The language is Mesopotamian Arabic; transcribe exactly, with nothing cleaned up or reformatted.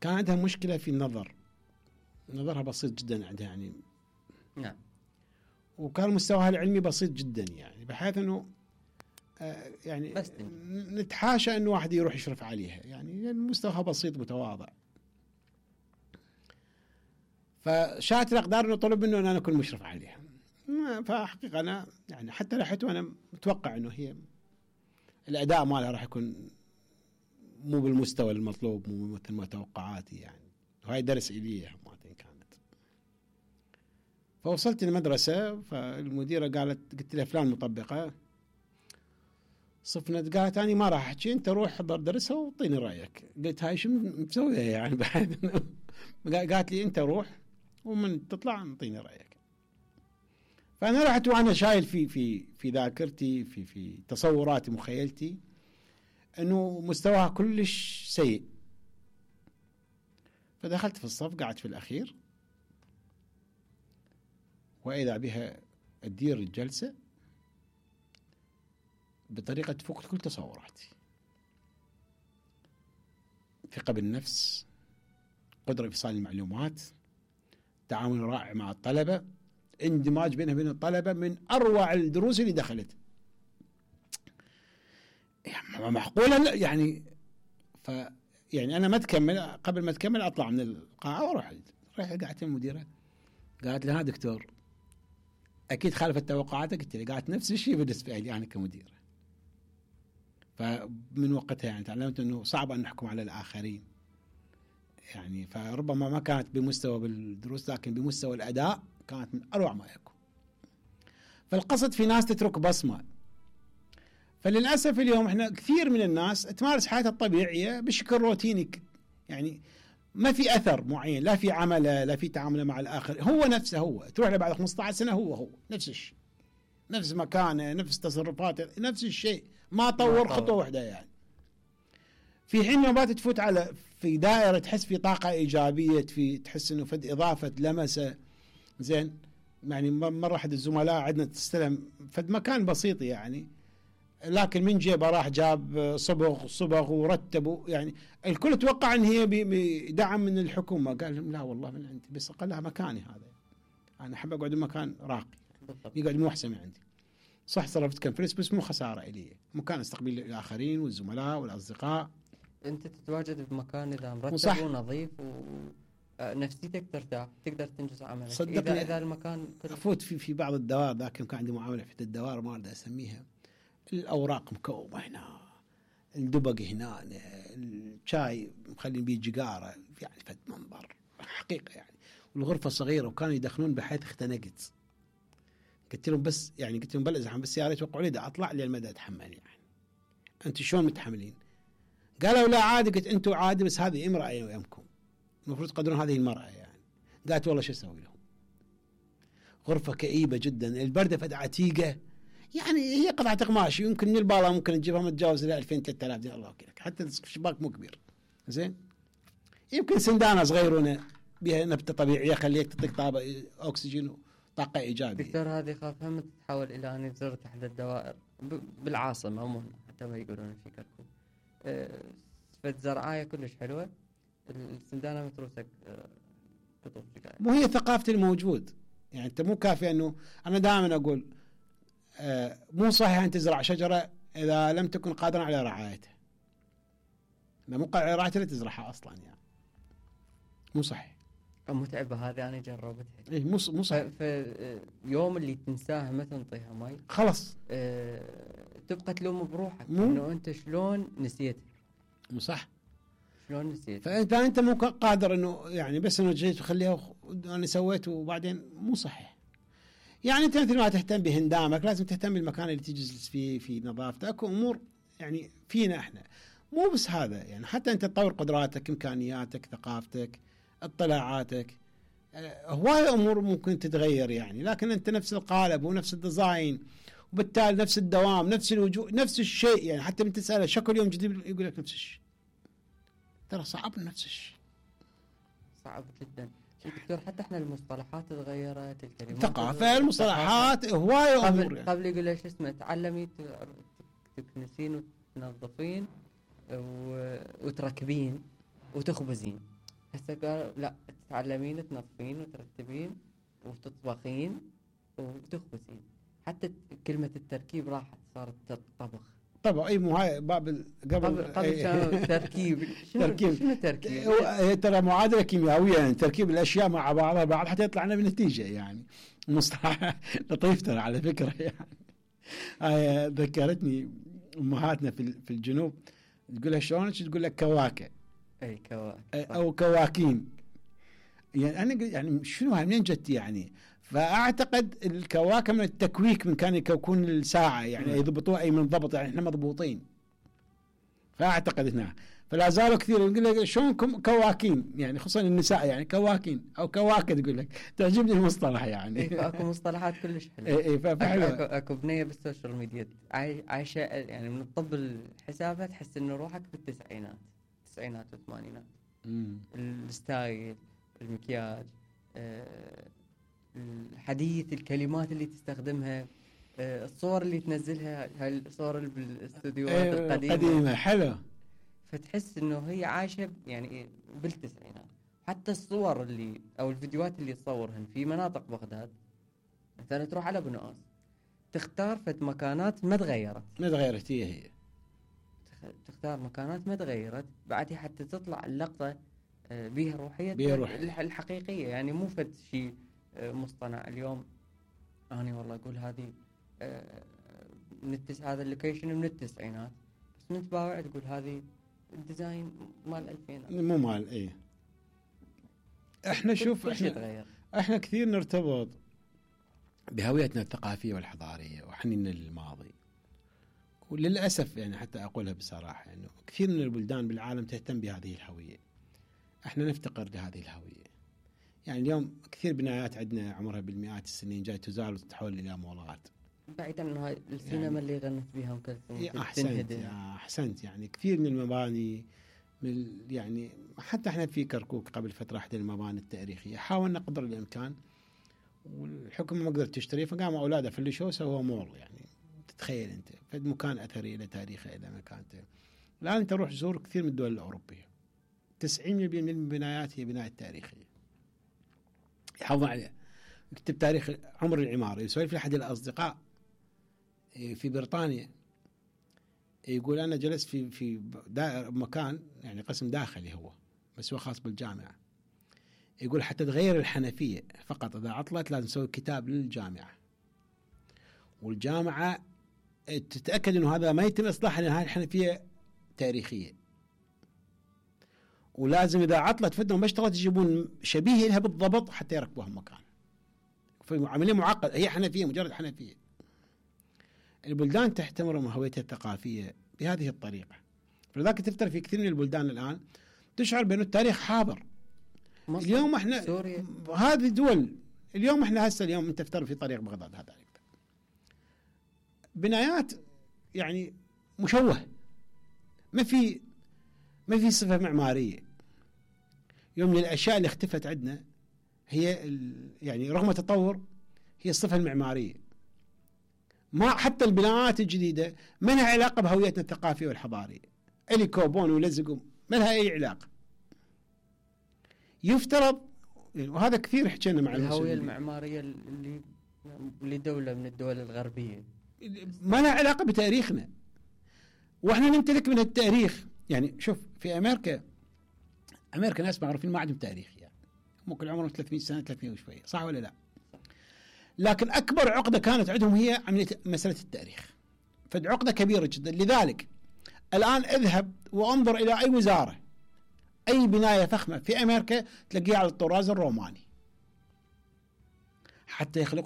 كان عندها مشكلة في النظر، نظرها بسيط جدا عندها يعني. نعم. وكان مستواها العلمي بسيط جدا يعني، بحيث انه آه يعني بس نتحاشى انه واحد يروح يشرف عليها يعني، يعني مستواها بسيط متواضع. فشاءت الاقدار انه طلب منه ان انا اكون مشرف عليها. فحقيقة انا يعني حتى رحت وانا متوقع انه هي الاداء مالها راح يكون مو بالمستوى المطلوب، مو مثل ما توقعاتي يعني، وهاي درس إلي هماتين كانت. فوصلت المدرسة، فالمديرة قالت، قلت لها فلان مطبقة صفنت، قالت أنا ما راح أحكي، أنت روح حضر درسها وطيني رأيك. قلت هاي شو مسوية يعني بعد؟ قالت لي أنت روح ومن تطلع نطيني رأيك. فأنا رحت وأنا شايل في في في ذاكرتي في في تصوراتي مخيلتي انه مستواها كلش سيء. فدخلت في الصف، قعدت في الاخير، واذا بها تدير الجلسه بطريقه تفوق كل تصوراتي. ثقه بالنفس، قدره ايصال المعلومات، تعامل رائع مع الطلبه، اندماج بينها وبين الطلبه من اروع الدروس اللي دخلت. يعني معقولة يعني. ف يعني أنا ما تكمل، قبل ما تكمل أطلع من القاعة وأروح. رحت قعدت المديرة، قالت لها دكتور أكيد خالفت توقعاتك. قلت لي قالت نفس الشيء بالنسبة لي أنا كمديرة. فمن وقتها يعني تعلمت إنه صعب أن نحكم على الآخرين يعني. فربما ما كانت بمستوى بالدروس، لكن بمستوى الأداء كانت من أروع ما يكون. فالقصد في ناس تترك بصمة. فللأسف اليوم احنا كثير من الناس تمارس حياتها الطبيعية بشكل روتيني يعني، ما في أثر معين، لا في عمله لا في تعامله مع الآخر، هو نفسه هو. تروح له بعد خمسة عشر سنة هو هو نفس الشيء، نفس مكانه، نفس تصرفاته، نفس الشيء، ما طور خطوة واحدة يعني. في حين ما تفوت على في دائرة تحس في طاقة إيجابية، في تحس إنه فد إضافة لمسة زين يعني. مرة أحد الزملاء عندنا تستلم فد مكان بسيط يعني، لكن من جيبه راح جاب صبغ صبغ ورتبوا يعني. الكل توقع ان هي بدعم من الحكومه، قال لهم لا والله من عندي، بس قال لها مكاني هذا، انا احب اقعد بمكان راقي يقعد مو احسن من عندي. صح صرفت كم فلوس بس مو خساره الي، مكان استقبل الاخرين والزملاء والاصدقاء. انت تتواجد بمكان اذا مرتب ونظيف ونفسيتك ترتاح، تقدر تنجز عملك. اذا اذا المكان افوت في في بعض الدوائر، ذاك كان عندي معامله في الدوائر ما اريد اسميها، الأوراق مكومة هنا، الدبق هنا، الشاي مخلين بيه جقارة يعني، فد منظر حقيقة يعني. والغرفة صغيرة وكانوا يدخلون بحيث اختنقت. قلت لهم بس يعني قلت لهم بل ازحم بس يا ريت توقعوا لي دا اطلع لي المدى اتحمل يعني. انتم شلون متحملين؟ قالوا لا عادي. قلت انتم عادي بس هذه امرأة يمكم، المفروض تقدرون هذه المرأة يعني. قالت والله شو اسوي لهم؟ غرفة كئيبة جدا، البردة فد عتيقة يعني، هي قطعة قماش يمكن من البالة ممكن تجيبها متجاوز ل ألفين ثلاثة آلاف دينار الله وكيلك، حتى الشباك مو كبير زين. يمكن سندانة صغيرونة بها نبتة طبيعية خليك تعطيك طابة أكسجين وطاقة إيجابية. دكتور هذه خاف هم تتحول إلى أن زرت أحد الدوائر بالعاصمة مو حتى ما يقولون في كركوك أه فد زرعاية كلش حلوة، السندانة متروسك أه تطوف مو هي ثقافة الموجود يعني. أنت مو كافي أنه أنا دائما أقول آه مو صحيح أن تزرع شجرة إذا لم تكن قادرا على رعايتها. ما مو قادر على رعايتها لا تزرعها أصلا يعني، مو صحيح. متعبة هذه أنا جربتها. إيه مو مو صحيح. في يوم اللي تنساها ما تنطيها ماي خلص أه تبقى تلوم بروحك مو إنه أنت شلون نسيت. مو صح. شلون نسيت؟ فإذا أنت مو قادر إنه يعني بس إنه جيت وخليها أنا سويت وبعدين مو صحيح يعني. أنت مثل ما تهتم بهندامك لازم تهتم بالمكان اللي تجلس فيه، في نظافته، أكو أمور يعني فينا إحنا مو بس هذا يعني. حتى أنت تطور قدراتك، إمكانياتك، ثقافتك، اطلاعاتك، هواي أمور ممكن تتغير يعني. لكن أنت نفس القالب ونفس الديزاين وبالتالي نفس الدوام نفس الوجوه نفس الشيء يعني. حتى من تسأله شكل يوم جديد يقول لك نفس الشيء، ترى صعب نفس الشيء، صعب جدا دكتور. حتى احنا المصطلحات تغيرت، الكلمات ثقافة، المصطلحات، هواي أمور قبل, يعني. قبل يقول ايش اسمه تعلمي تكنسين وتنظفين وتركبين وتخبزين. هسه قالوا لا تتعلمين تنظفين وترتبين وتطبخين وتخبزين. حتى كلمة التركيب راحت صارت طبخ. طبعا اي مو هاي باب ال- قبل قبل قبل كانوا تركيب. شنو تركيب. شنو تركيب؟ هو- هي ترى معادله كيميائيه، يعني تركيب الاشياء مع بعضها بعض حتى يطلع لنا بنتيجه، يعني مصطلح لطيف ترى على فكره. يعني هاي ذكرتني امهاتنا في ال- في الجنوب تقول لها شلون، تقول لك كواكه اي كواكب او كواكين. يعني انا قلت يعني شنو هاي منين جت يعني؟ فاعتقد الكواكب من التكويك، من كان يكوكون الساعه يعني مم. يضبطوها اي من ضبط، يعني احنا مضبوطين. فاعتقد هنا فلا زالوا كثير يقول لك شلون كم- كواكين، يعني خصوصا النساء يعني كواكين او كواكب، تقول لك تعجبني المصطلح يعني. اي فاكو مصطلحات كلش حلوه. اي اي اكو, فحلو. أكو, اكو بنيه بالسوشيال ميديا عاي- عايشه يعني من الطب حسابها تحس انه روحك بالتسعينات، التسعينات والثمانينات. مم. الستايل، المكياج، آه، الحديث، الكلمات اللي تستخدمها، آه، الصور اللي تنزلها، هاي الصور اللي بالاستوديوهات إيه، القديمه. قديمه حلو. فتحس انه هي عايشه يعني بالتسعينات. حتى الصور اللي او الفيديوهات اللي تصورهن في مناطق بغداد، مثلا تروح على بنقاس تختار فد مكانات ما تغيرت، ما تغيرت هي هي. تخ- تختار مكانات ما تغيرت بعدها حتى تطلع اللقطه آه، بيها روحيه، بيها روح. الح- الحقيقيه، يعني مو فد شيء آه، مصطنع. اليوم انا والله اقول هذه آه، من التس هذا اللوكيشن من التسعينات، بس من تباوع تقول هذه الديزاين مال الألفينات. مو مال ايه. احنا شوف كل شيء احنا تغير. احنا كثير نرتبط بهويتنا الثقافيه والحضاريه وحنيننا للماضي، وللاسف يعني حتى اقولها بصراحه انه يعني كثير من البلدان بالعالم تهتم بهذه الهويه، احنا نفتقر لهذه الهويه. يعني اليوم كثير بنايات عندنا عمرها بالمئات السنين جاي تزال وتتحول الى مولات. بعيدا عن هاي السينما يعني اللي غنت بها ام كلثوم إيه، احسنت تنهدم. يا احسنت. يعني كثير من المباني من ال- يعني حتى احنا في كركوك قبل فتره احدى المباني التاريخيه حاولنا قدر الامكان، والحكومه ما قدرت تشتري، فقاموا اولادها فلشوا سووا مول. يعني تتخيل انت فد مكان اثري له تاريخه الى مكانته. الان انت روح زور كثير من الدول الاوروبيه تسعين بالمئة من البنايات هي بنايات تاريخيه يحافظون عليها. اكتب تاريخ عمر العماره، يسولف لي احد الاصدقاء في بريطانيا يقول انا جلست في في مكان يعني قسم داخلي هو بس هو خاص بالجامعه، يقول حتى تغير الحنفيه فقط اذا عطلت لازم نسوي كتاب للجامعه، والجامعه تتاكد انه هذا ما يتم اصلاحها لان هذه الحنفيه تاريخيه، ولازم اذا عطلت فدهم ما اشتغلت يجيبون شبيه لها بالضبط حتى يركبوها مكان. فعمليه معقده، هي حنفيه مجرد حنفيه. البلدان تحترم هويتها الثقافيه بهذه الطريقه، فلذلك تفتر في كثير من البلدان الان تشعر بأن التاريخ حاضر. اليوم احنا سوريا. هذه دول اليوم احنا هسه اليوم انت تفتر في طريق بغداد هذا بنايات يعني مشوه، ما في ما في صفه معماريه. يوم من الاشياء اللي اختفت عندنا هي يعني رغم التطور هي الصفه المعماريه. ما حتى البناءات الجديده ما لها علاقه بهويتنا الثقافيه والحضاريه، اللي كوبون ولزقوا ما لها اي علاقه. يفترض يعني وهذا كثير حكينا مع الهويه المعماريه اللي لدوله من الدول الغربيه ما لها علاقه بتاريخنا، واحنا نمتلك من التاريخ. يعني شوف في امريكا امريكا ناس معروفين ما عندهم تاريخ، يعني ممكن عمرهم ثلاثمئة سنه ثلاثمئة وشويه، صح ولا لا؟ لكن اكبر عقده كانت عندهم هي عمليه مساله التاريخ، فعقده كبيره جدا. لذلك الان اذهب وانظر الى اي وزاره اي بنايه فخمه في امريكا تلاقيها على الطراز الروماني، حتى يخلقون